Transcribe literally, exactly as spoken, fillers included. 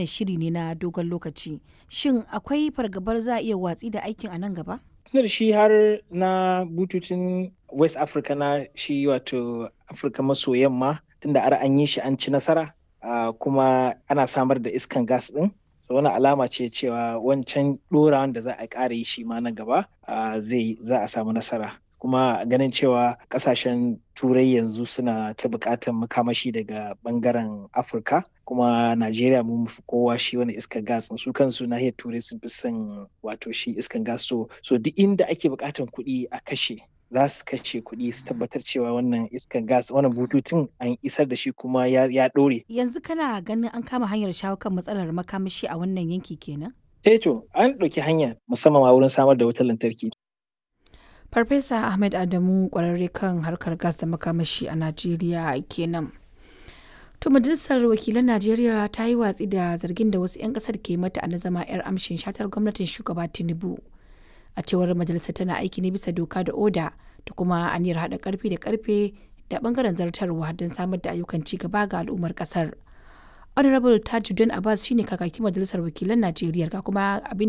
Shiri ne na dogon lokaci. Shin akwai fargabar za a iya watsi da aikin a nan gaba? Tunda shi har na bututun West Africa na shi wato Afirka maso yamma tunda har an yi shi an ci nasara uh, kuma ana samar da iskan gas din. So wani alama ce cewa wancan ɗorawan da za a ƙara yi shi ma nan gaba uh, zai za a samu nasara. Kuma ganin cewa ƙasashen Turai yanzu suna ta buƙatar makamashi daga ɓangaren Afirka, kuma Najeriya mun fi kowa shi wani iskan gas, su kansu nahiyar Turai sun fi son wato shi iskan gas. so so duk inda ake buƙatar kuɗi a kashe, za su kashe kuɗi su tabbatar cewa wannan iskan gas, wannan bututun an isar da shi kuma ya, ya ɗore. Yanzu kana ganin an kama hanyar shawo kan matsalar makamashi a wannan yanki kenan? Eh to, an ɗauki hanya musamman ma wurin samar da wutar lantarki. Farfesa Ahmed Adamu kwararre kan harkar gas da makamashi a Najeriya kenan. To, majalisar wakilan Najeriya ta yi watsi da zargin da wasu 'yan kasar ke mata a na zama 'yar amshin shatar gwamnatin shugaba Tinubu. A cewar majalisar, tana aiki ne bisa doka da oda da kuma aniyar haɗa karfi da karfe da bangaren zartarwa don samar da ayyukan ci gaba ga al'ummar kasar. Honorable Tajuddin Abbas shine kakakin majalisar wakilan Najeriya, ga kuma abin